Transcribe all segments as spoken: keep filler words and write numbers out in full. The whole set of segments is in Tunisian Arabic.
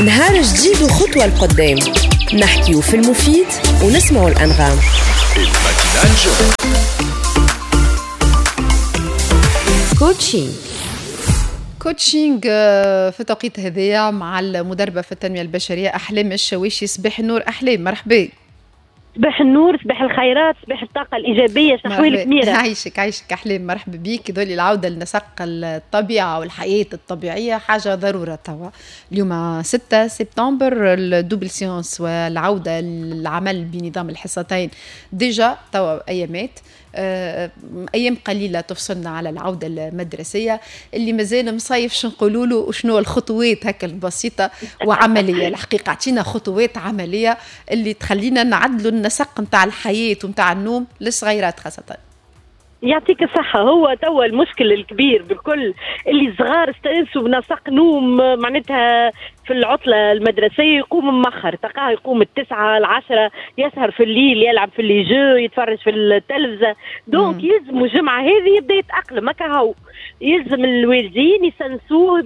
نهار جديد وخطوة لقدام، نحكيو في المفيد ونسمعوا الأنغام. coaching coaching في التوقيت هذايا مع المدربة في التنمية البشرية أحلام الشواشي. صباح النور أحلام، مرحبا. صباح النور، صباح الخيرات، صباح الطاقة الإيجابية. شحوالك ميرا؟ عايشك عايشك أحلام، مرحبا بيك. ذولي العودة لنسق الطبيعة والحياة الطبيعية حاجة ضرورة توا. اليوم ستة سبتمبر ال double séance والعودة للعمل بنظام الحصتين déjà توا أيامات، أيام قليلة تفصلنا على العودة المدرسية. اللي مازال مصيف شنو نقولوا له وشنو الخطوات هكا البسيطة وعملية؟ الحقيقة اعطينا خطوات عملية اللي تخلينا نعدلوا النسق نتاع الحياة ونتاع النوم للصغيرات خاصة. يعطيك الصحة. هو توا المشكل الكبير بالكل اللي الصغار استانسوا بنسق نوم، معناتها في العطلة المدرسية يقوم مأخر، تلقاه يقوم التسعة العشرة، يسهر في الليل، يلعب في les jeux، يتفرج في التلفزة. donc يلزم الجمعة هذه يبدا يتأقلم هكا. هو يلزم الوالدين يسنسوه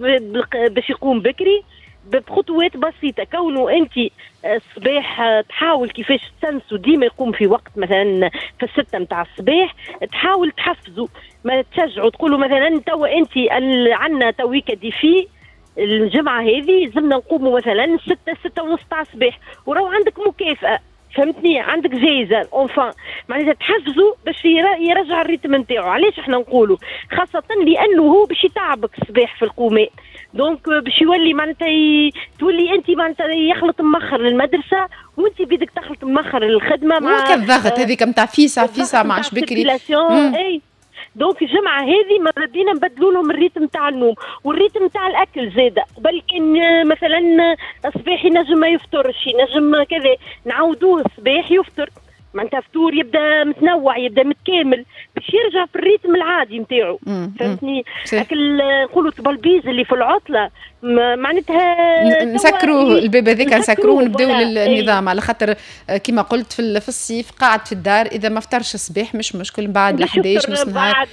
باش يقوم بكري بخطوات بسيطة. كونه أنت الصباح تحاول كيفاش تسنسو ديما يقوم في وقت، مثلا في الستة متاع الصباح تحاول تحفزه، ما تشجعوا تقولوا مثلا توا أنت عندنا تويكا défi الجمعة هذه لازمنا نقوموا مثلا ستة ستة ونص تاع الصباح، وراو عندك مكافأة، فهمتني، عندك جايزة enfin، معناتها تحفزوا باش يرجع ال rythme نتاعو. علاش احنا نقولوا؟ خاصة لأنه هو باش يتعبك الصباح في القومات، donc باش يولي معناتها ي... تولي انت معناتها يخلط مخر للمدرسة وانت بيدك تخلط مخر للخدمة مع الضغط هذيك نتاع فيسع فيسع ما عادش بكري. اي donc الجمعة هذه ماذا بينا نبدلوا لهم ال rythme تاع النوم وال rythme تاع الاكل زاده. قبل كان مثلا الصباح ينجم ما يفطرش، ينجم كذا، نعاودوه الصباح يفطر، معناتها فطور يبدا متنوع، يبدا متكامل باش يرجع في ال rythme العادي نتاعو، فهمتني؟ اكل نقولوا تبلبيز اللي في العطلة معناتها نسكروا الباب هذاك، نسكروه ونبداو النظام. على خاطر كما قلت في في الصيف قاعد في الدار، اذا ما فطرش الصباح مش مشكل، من بعد احد عشر نص نهار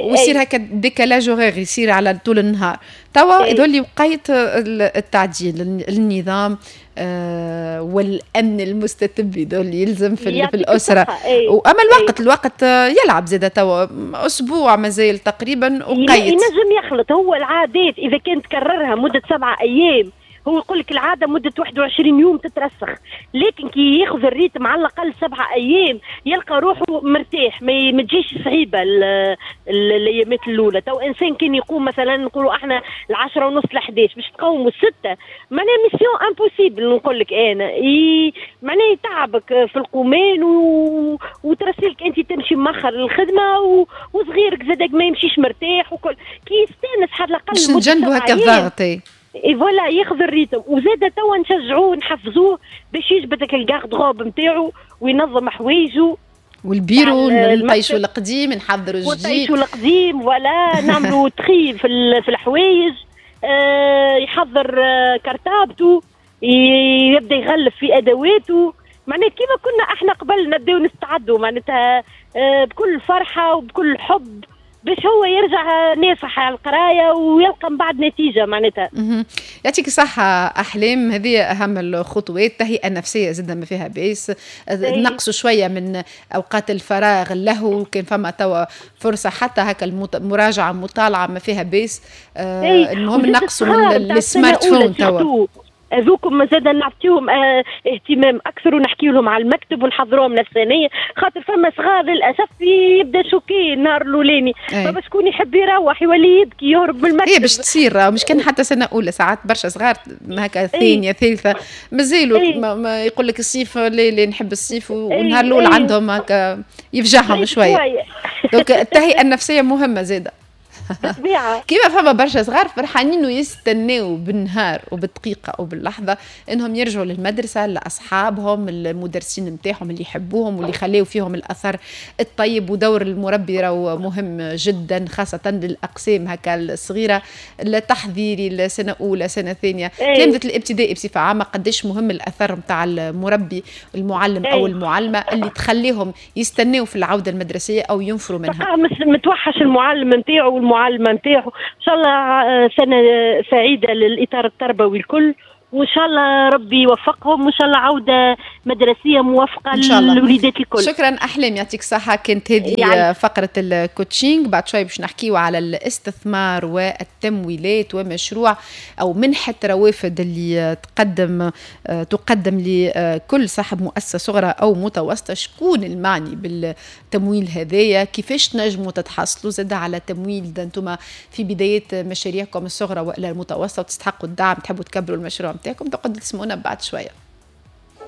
ويصير هكا décalage horaire يصير على طول النهار. توا يظل وقيت التعديل النظام آه والامن المستتب يظل يلزم في, في الاسرة. واما الوقت أي. الوقت يلعب زاد توا اسبوع مازال تقريبا وقيت ينجم يخلط. هو العادات اذا كان تكررها مده سبعة ايام، هو يقول لك العادة مده واحد وعشرين يوم تترسخ، لكن كي ياخذ ال rythme على الاقل سبعة ايام يلقى روحه مرتاح، ما تجيش صعيبة الايامات الاولى. تو انسان كان يقوم مثلا نقولوا احنا العشرة ونص ل احداش باش تقوموا الستة، معناها mission impossible نقول لك انا، معناها يتعبك في القومان و... وترسلك انت تمشي مأخر للخدمة و... وصغيرك زادك ما يمشيش مرتاح وكل. كي يستانس على الاقل باش نجنبوا هكا الضغط et voilà ياخذ ال rythme. وزاد توا نشجعوه نحفزوه باش يجبد ال garde-robe نتاعو وينظم حوايجو والبيرو، نطيشوا القديم نحضروا الجديد، نطيشوا القديم voilà نعملوا tri في في الحوايج، آه يحضر آه كرتابته، يبدا يغلف في ادواته. معناها كيما كنا احنا قبل نبداو نستعدوا معناتها آه بكل فرحه وبكل حب باش هو يرجع نافح على القراية ويلقى من بعد نتيجة معناتها. يعطيك الصحة احلام، هذه اهم الخطوات. التهيئه النفسية زادة ما فيها باس، نقصوا شوية من اوقات الفراغ اللهو، كان فما توا فرصة حتى هكا المراجعة المطالعة ما فيها باس. آه المهم نقصوا من ال smartphone توا. هذوكم زاد نعطيهم اه اهتمام اكثر ونحكي لهم على المكتب ونحضروهم نفسانيا، خاطر فما صغار للاسف يبدا choqué النهار الاولاني، فما شكون يحب يروح يولي يبكي يهرب من المكتب. هي باش تصير مش كان حتى سنة اولى، ساعات برشا صغار هكا ثانية ثالثة مازالوا ما يقول لك الصيف لا لا نحب الصيف، والنهار الاول عندهم هكا يفجعهم شوية. donc التهيئه النفسية مهمة زاده. كيما فما برشا صغار فرحانين ويستناو بالنهار وبالدقيقه وباللحظه انهم يرجعوا للمدرسة لاصحابهم المدرسين نتاعهم اللي يحبوهم واللي خلاو فيهم الاثر الطيب. ودور المربي راهو مهم جدا خاصة للاقسام هكا الصغيرة، التحضيري السنة اولى سنة ثانية، تلامذه الابتدائي بصفة عامة قداش مهم الاثر نتاع المربي المعلم او المعلمة اللي تخليهم يستناو في العودة المدرسية او ينفروا منها. متوحش المعلم نتاعو والمعلمه نتاعو. ان شاء الله سنة سعيدة للاطار التربوي الكل، وان شاء الله ربي يوفقهم، وان شاء الله عوده مدرسيه موفقة للوليدات الكل. شكرا احلام، يعطيك الصحة. كانت هذه يعني فقره ال coaching. بعد شوي باش نحكيو على الاستثمار والتمويلات ومشروع او منحه روافد اللي تقدم تقدم لكل صاحب مؤسسة صغرى او متوسطه. شكون المعني بالتمويل هذايا؟ كيفاش تنجموا تتحصلوا زاد على تمويل انتم في بداية مشاريعكم الصغرى والا المتوسطة وتستحقوا الدعم، تحبوا تكبروا المشروع نتاعكم؟ تقعدوا تسمعونا بعد شوية.